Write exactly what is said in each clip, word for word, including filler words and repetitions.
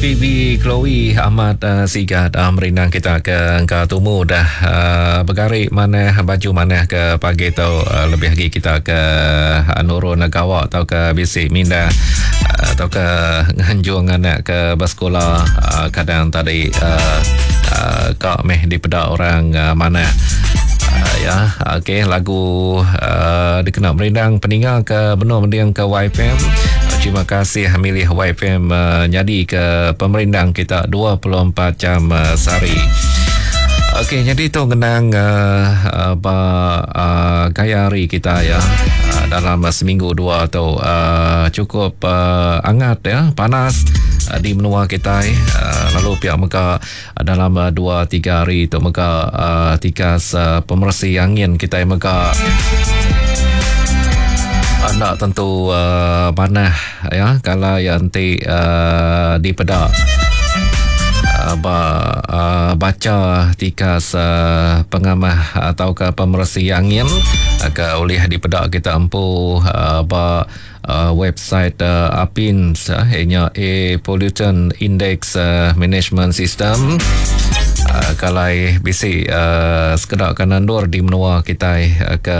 Phoebe Chloe amat uh, sigat uh, merindang kita ke engka tumu dah uh, begari manah baju manah ke pagi tu uh, lebih lagi kita ke uh, nurun gawa atau ke bisi mindah uh, atau ke nganjung anak ke bersekolah uh, kadang tadi uh, uh, kak meh dipeda orang uh, manah. Uh, ya, okey, lagu uh, dikena merindang peninga ke benua mending ke Y F M. Terima kasih milih Y F M uh, jadi ke pemerindang kita dua puluh empat jam uh, sehari. Okey, jadi tu ngenang uh, uh, ba, uh, gaya hari kita ya uh, dalam uh, seminggu dua tu uh, cukup uh, hangat ya, panas uh, di menua kita uh, lalu pihak mega uh, dalam uh, dua tiga hari tu mega uh, tikas uh, pemersi angin kita mega nak tentu uh, panah ya kalau yang nanti uh, dipedak uh, ba, uh, baca tikas uh, pengamah atau ke pemersi angin uh, ke oleh dipedak kita empu uh, ba, uh, website uh, A P I N S uh, ianya Air Pollution Index uh, Management System. Uh, kalau bisi uh, sekedak kanan dor di menua kita uh, ke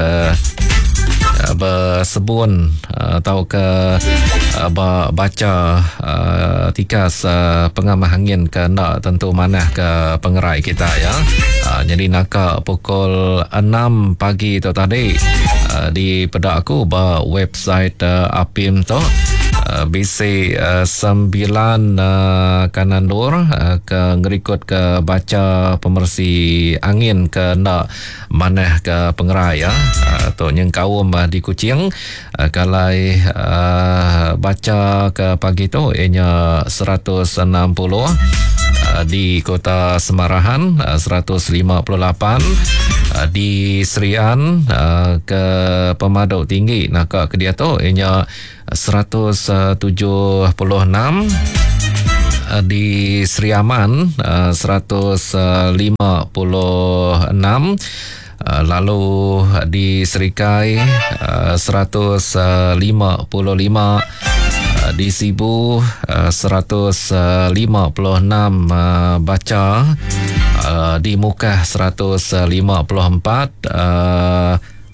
bersebun atau ke baca tikas pengamah angin ke nak tentu manah ke pengerai kita ya. Jadi naka pukul enam pagi tu tadi di pedak aku ba website A P I M tu bisi sembilan kanan dor ke ngerikut ke baca pemersi angin ke nak manah ke pengerai ya. Tu nyengkaum di Kuching kalai baca ke pagi tu ianya seratus enam puluh, di Kota Semarahan seratus lima puluh lapan, di Serian ke Pemaduk Tinggi nak ke dia tu ianya seratus tujuh puluh enam, di Sri Aman seratus lima puluh enam, lalu di Serikai seratus lima puluh lima, di Sibu seratus lima puluh enam baca, di Mukah seratus lima puluh empat,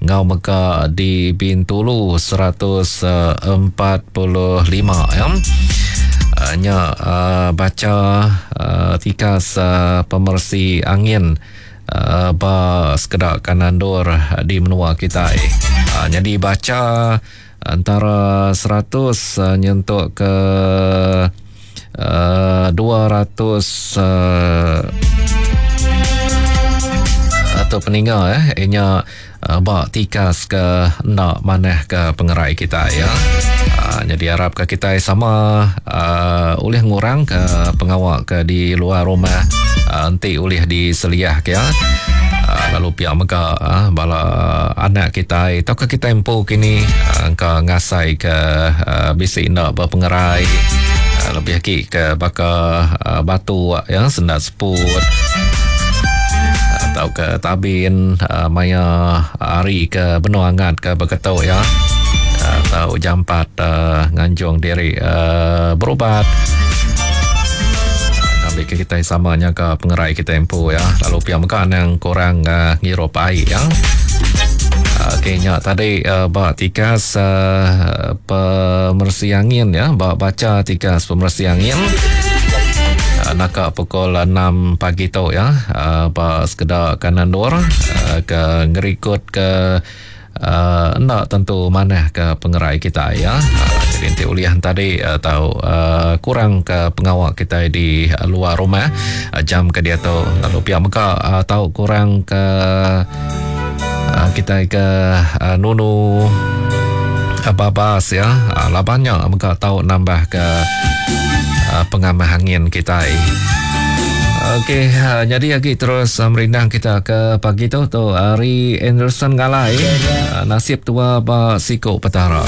ngau mega di Bintulu seratus empat puluh lima ya. Nya baca tikas pemersi angin ba sekedak kanandur di menua kita. Jadi baca antara seratus nyentuk ke dua ratus atau peninggal eh ianya ba tikas ke nak manah ke pengerai kita ya. Uh, jadi harap ke kita sama uh, oleh ngurang ke pengawak ke di luar rumah uh, nanti oleh diseliah ke ya. Uh, lalu pihak mega uh, bala anak kita atau ke kita empu kini uh, ke ngasai ke uh, bisi nak berpengerai uh, lebih lagi ke baka uh, batu ya sendat seput atau ke tabin uh, maya hari ke benua angat ke berketuk ya, atau jampat uh, nganjung diri uh, berubat ambil ke kita samanya ke pengerai kita empu ya. Lalu pihak mega nang kurang uh, ngirup air ya. Okey nya tadi uh, bak tikas uh, pemersi angin ya, bak baca tikas pemersi angin naka pukul enam pagi tu ya, uh, ba sekedak kanan dor uh, ke ngerikut ke uh, nak tentu manah ke pengerai kita ya. Uh, jadi nanti ulihan tadi atau uh, uh, kurang ke pengawak kita di uh, luar rumah uh, jam ke dia tu. Lalu pihak mega uh, tahu kurang ke uh, kita ke uh, nunu babas ya. Uh, labannya mega tahu nambah ke Uh, pengamah angin kita. Okey, uh, jadi lagi terus uh, merindang kita ke pagi tu tu Ari Anderson Galai uh, nasib tua ba siko petara.